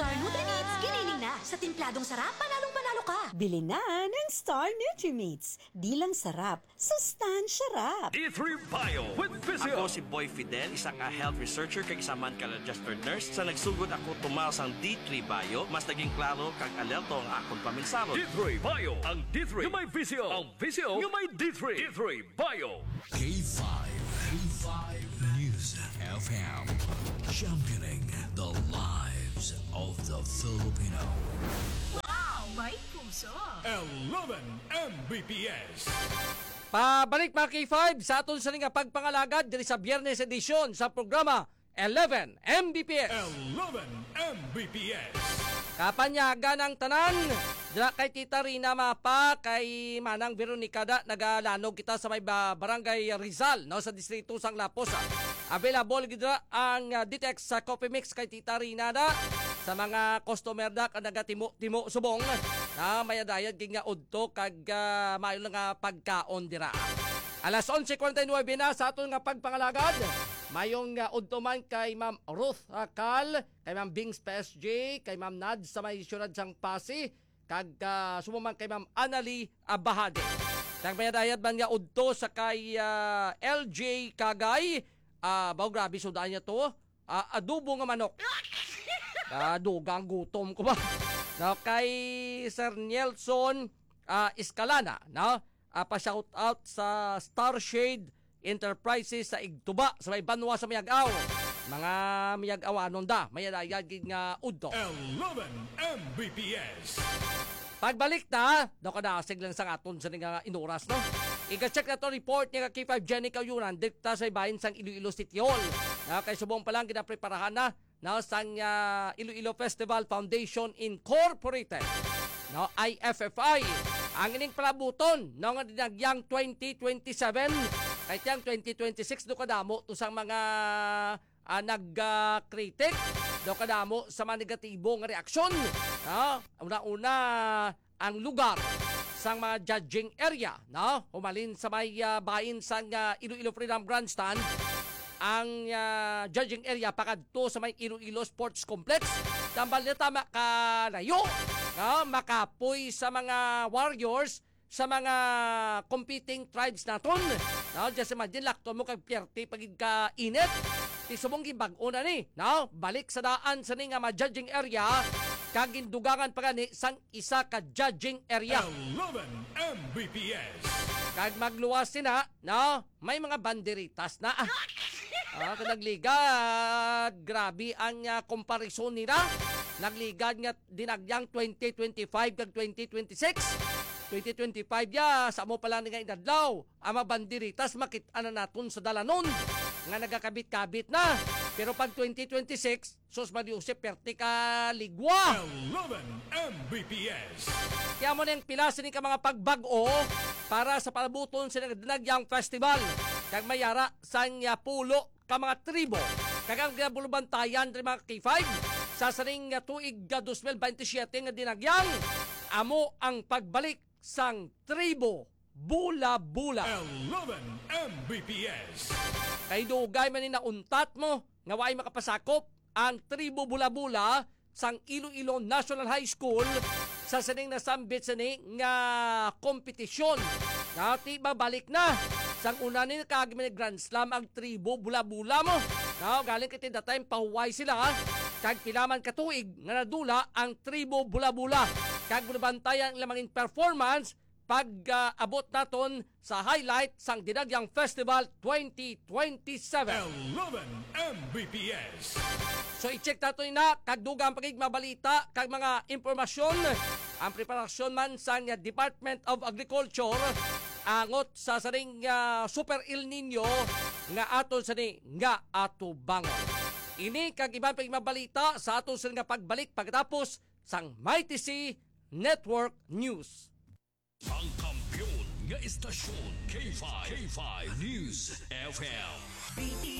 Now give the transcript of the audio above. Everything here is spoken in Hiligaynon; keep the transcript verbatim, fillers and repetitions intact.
Star Nutrimits, giniling na. Sa timpladong sarap, panalong-panalo ka. Bili na ng Star Nutrimits. Di lang sarap, sustansya rap. D three Bio with Visio. Ako si Boy Fidel, isa nga health researcher kag isa man ka registered nurse. Sa nagsugod ako tumaw sang D three Bio, mas naging klaro kag alerto ang akon paminsaro. D three Bio, ang D three nga may Visio, ang Visio nga may D three. D three Bio. K five, K five News F M, championing the lives of the Filipino. Wow, may puso! Eleven M B P S. Pabalik, mga K five, sa aton sini nga pagpangalagad diri sa Biyernes edisyon sa programa Eleven M B P S. Eleven M B P S. Kapanyagan ang tanan, dira kay Tita Rina, mapa, kay Manang Veronica da, nagalanog kita sa may ba-, Barangay Rizal, no, sa distrito sang Lapos, ah. Available gid dira ang, ah, Ditex sa Coffee Mix kay Tita Rina da. Sa mga customer da, kag nagatimo-timo subong, na may adayad gid nga udto kag, ah, maayo lang nga pagkaon dira. Alas onse cuarenta y nueve na sa aton nga pagpangalagad. Mayong, ah, udto man kay Ma'am Ruth, ah, Cal, kay Ma'am Bings P S J, kay Ma'am Nad sa may siyudad sang Passi, kag, ah, subong man kay Ma'am Annalie, ah, Bahade. Kag may adayad man nga udto sa kay, ah, L J Kagay, ah, baw grabe sudaan niya to. Ah, adobo nga manok. Ah, dugang gutom ko ba? No, kay Sir Nelson, ah, Escalana, no? Ah, pa-shout out sa Starshade Enterprises sa Igtuba, sa may banwa sa Miag-aw. Mga Miag-awanon da, may adayad gid nga udto. Eleven M B P S. Pagbalik ta, daw kadasig lang sa aton sa nga inuras, no? Iga-check na to report ni K five Jenny Kayunan, direkta sa bahin sang Iloilo City Hall. Na kay subong pa lang ginapreparahan na, na sang, ah, Iloilo Festival Foundation Incorporated, no, I F F I. Ang ining palabuton, no, nga dinagyang twenty twenty-seven, kay tiyang twenty twenty-six do kadamo to sang mga, ah, nag, ah, critic, do kadamo sa mga negatibo nga reaksyon. No? Una-una, ang lugar sang mga judging area, no? Humalin sa may, ah, bahin sang, ah, Iloilo Freedom Grandstand, ang, ah, judging area pakadto sa may Iloilo Sports Complex. Tambal na tama kalayo, no? Makapoy sa mga warriors, sa mga competing tribes naton. No? Just imagine, lakton mo kag piyerte pa gid ka init. Ti subong gibag-o na ni, no? Balik sa daan sa ni nga mga judging area, kag gindugangan pa gani sang isa ka judging area. Eleven M B P S. Kag magluwas sina, no? May mga banderitas na. Ah, kag nagligad, grabe ang, ah, komparison nila. Nagligad nga dinagyang twenty twenty-five kag twenty twenty-six. Twenty twenty-five ya, sa mo pa lang nga inadlaw, ang mga banderitas makit-an na naton sa dalanon nga nagakabit-kabit na. Pero pag twenty twenty-six, sus, Maria Jose, perte ka ligwa. Eleven M B P S. Kaya mo na yung pila sini ka mga pagbag-o para sa palabuton sa Dinagyang Festival. Kag mayara sang, ah, pulo ka mga tribo. Kag ang ginabulubantayan diri, mga K five, sa sining nga tuig nga dos mil baynte siyete nga dinagyang, amo ang pagbalik sang tribo Bula-Bula. Eleven M B P S. Kay dugay man ni nauntat mo nga waay makapasakop ang tribo Bula-Bula sang Iloilo National High School sa sining nasambit sini nga kompetisyon. Nga ti babalik na. Sang una ni nakaagi man ni Grand Slam ang tribo Bula-Bula mo. Nga galing kay that time pahuway sila, kag pila man ka tuig nga nadula ang tribo Bula-Bula. Kag bulabantayan ang ilang mga performance pag, ah, abot naton sa highlight sang Dinagyang Festival twenty twenty-seven. Eleven M B P S. So, i-check nato na kag dugang pa gid mabalita kag mga impormasyon ang preparasyon man sang Department of Agriculture angot sa sining, ah, Super El Nino nga aton sini nga atubangon. Ini kag iban pa gid mabalita sa aton sini nga pagbalik pagkatapos sang Mighty C Network News. Ang kampiyon nga istasyon, K five, K five News F M.